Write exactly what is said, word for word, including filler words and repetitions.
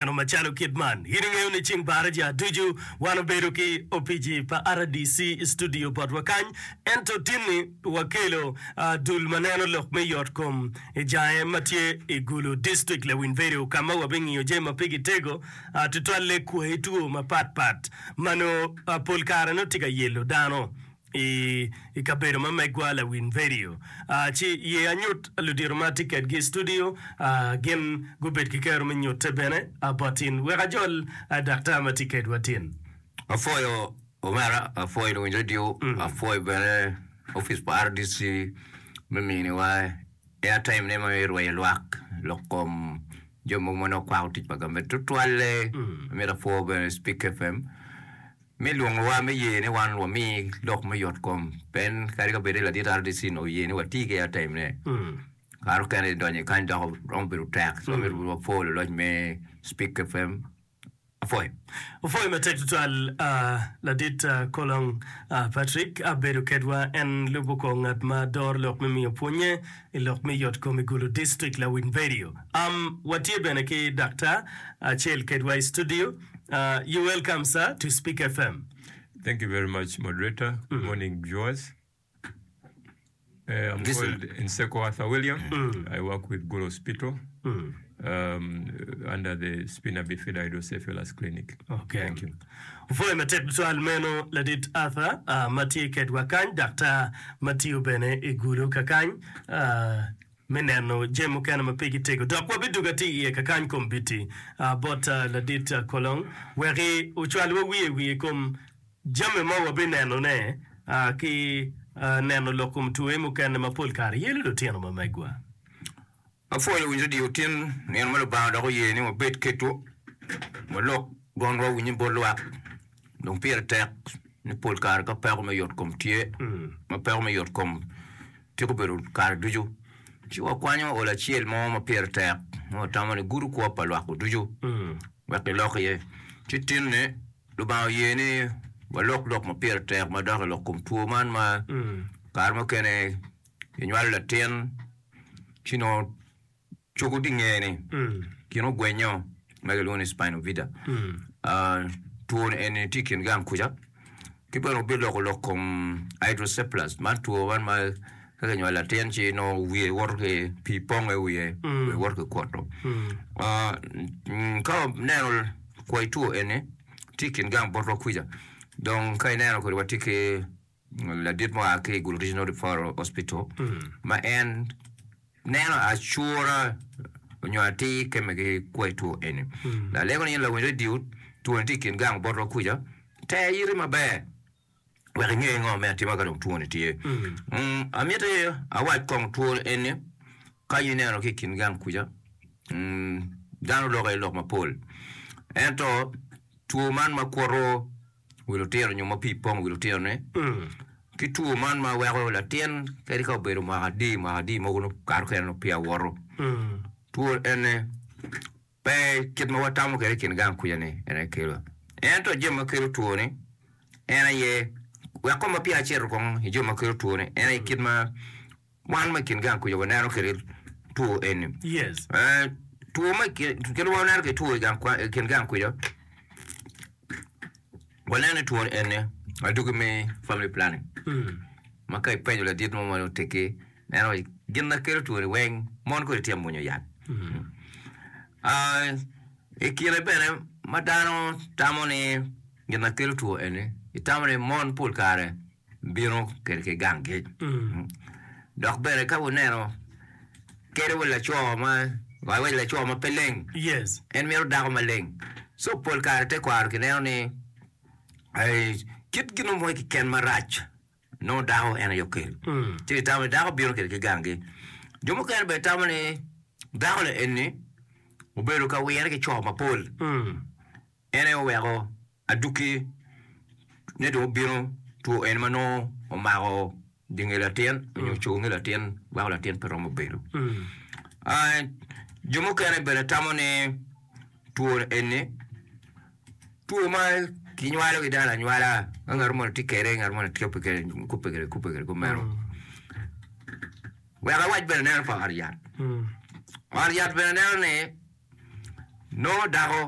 Ento macalo kit man, in ingeyo ni ceng baraja ducu wan obedo ki opici pa RDC i studio botwa kany. Ento tinni wakelo dul ma neno lok me yot kom i jange ma tye i Gulu District Lawiny Vedio ka ma wabingiyo jami ma pigi tego tutwalle kwayi two mapat pat ma nongo pol kare nongo tye ka yelo dano. I kabedo ma megwa lawiny vedio ci ye anyut ludito ma atye kedgi i studio gin gubed ki kero me nyute bene bot tin. Wek ajol daktar ma tye kedwa tin. Apwoyo omera, apwoyo luwiny radio, apwoyo bene opic pa RDC me miniwa airtime ne me rweyo lwak lok kom jo mogo ma nongo kwako tic pa gamente tutwalle amito apwo bene Speak FM. Me lwongowa me ye ni wan wami lok me yot kom, pien kadi ka bed ni ladit RDC onongo oye ni wati ki airtime ne, kare mukene donyo i kany dok romo bedo tek. So myero wapwo luloc me Speak FM. Apwoyo. Opwoyo matek tutwal ladit Kolong Patrick abedo kedwa en lubo kor ngat ma doro lok me miyo pwonye i lok me yot kom i Gulu District Lawiny Radio. Um watye bene ki daktar acel kedwa i studio. Uh, you welcome sir to Speak FM. Thank you very much, moderator. Good morning, viewers. Uh, I'm This- called Nseko Arthur William. I work with Gulu Hospital um, under the Spina Bifida Hydrocephalus Clinic. Okay. Thank you. Opwoyo matek tutwal meno ladit Arthur uh, ma tye kedwa kany, daktar ma tiyo bene i Gulu kakany uh, me neno jami mukene ma pigi tego. Dok wabidwogo atir iye kakany kombeddi uh, bot uh, ladit uh, Kolong wek ocwalwa wiye wiye i kom jami ma wabinenone uh, ki uh, neno lok kom twoye mukene ma pol kare yelo lutino ma megwa. Apwoyo luwiny radio tin nino ma Lubanga dok oye ni wabed kedwu, walok dwonwa owinye bot lwak. Dong pire tek ni pol kare ka peko me yotkom tye, ma peko me yotkom tiko bedo kare ducu, ci wakwanyo olo acel mo ma pire tek ma watamo ni gudo kwo pa lwak-gu ducu wek gilok iye. Ci tinni Lubanga oye ni walok lok ma pire tek madok i lok kom two man ma kare mukene kinywalo latin ci nongo cogo tye i ngeye-ni gin ogwenyo ma kilwongo ni spina bifida. Two ni eni tye i kin gang kuca ki bene wabiloko lok kom hydrocephalus man two man ma ka kinywalo latin ci nongo wiye woto ki pii pongo i wiye wiye woto ki kwoto. Ka waneno kwai two eni tye i kin gang botwa kuca dong ka ineno kodi watye ki ladit ma oa ki i Gulu Regional Referral Hospital ma en neno acura nyo atir kemme ki kwai two eni. Lalego ni in lawiny radio two ni tye i kin gang botwa kuca, ter iti maber wek inge ngo me atima ka dong two ni tye. Amiti awac kong two eni ka in ineno ki i kin gang kuca dano loko iye lok mapol ento two man ma kwoto wi lutino nyo ma pii pong i wi lutino-ni, ki two man ma weko latin kadi ka obedo mwaka adi mwaka adi mogo nongo kare mukene nongo peya woto. Two eni pe kit ma watamo kwede i kin gang kuca-ni en aye kelo. Ento jami ma kelo two-ni en aye wek kong ma peya acito kong i jami ma kelo two-ni en aye kit ma Wan ma i kin gang kuca waneno kwede two eni. Yes. Eh, two ma i kin, kit ma waneno kwede two i gang kwa, i kin gang kuca, waneno ni two eni adwogi me family planning. Ma ka ipenyo ladit mo ma oteggi, en owaco gin ma kelo two ni weng mon kodi tye ka mwonyo yat. Ah, i kine bene ma dano tamo ni gin ma kelo two eni, itamo ni mon pol kare bino kwede ki ganggi. Dok bene ka wuneno kadi wa laco ma wawaco laco ma pe leng, Yes. en mito dako maleng. So pol kare tekwaro kineno ni eh, kit gin mo keken marac nongo dako en aye okelo. Ci gitamo ni dako bino kwede ki ganggi. Jo mukene bene tamo ni dako-ni eni obedo ka wire ki co mapol. En aye oweko adwogi ne dong obino two eni ma nongo omako dye nge latin nyo cogo nge latin weko latin pe romo bedo. Jo mukene bene tamo ni two eni two ma kinywalo ki dano anywala ka ngat moni tye kwede ngat moni kubbe kwede kubbe kwede kumeno. Wek awac bene neno pa ot yat, ot yat bene neno ni Nongo dako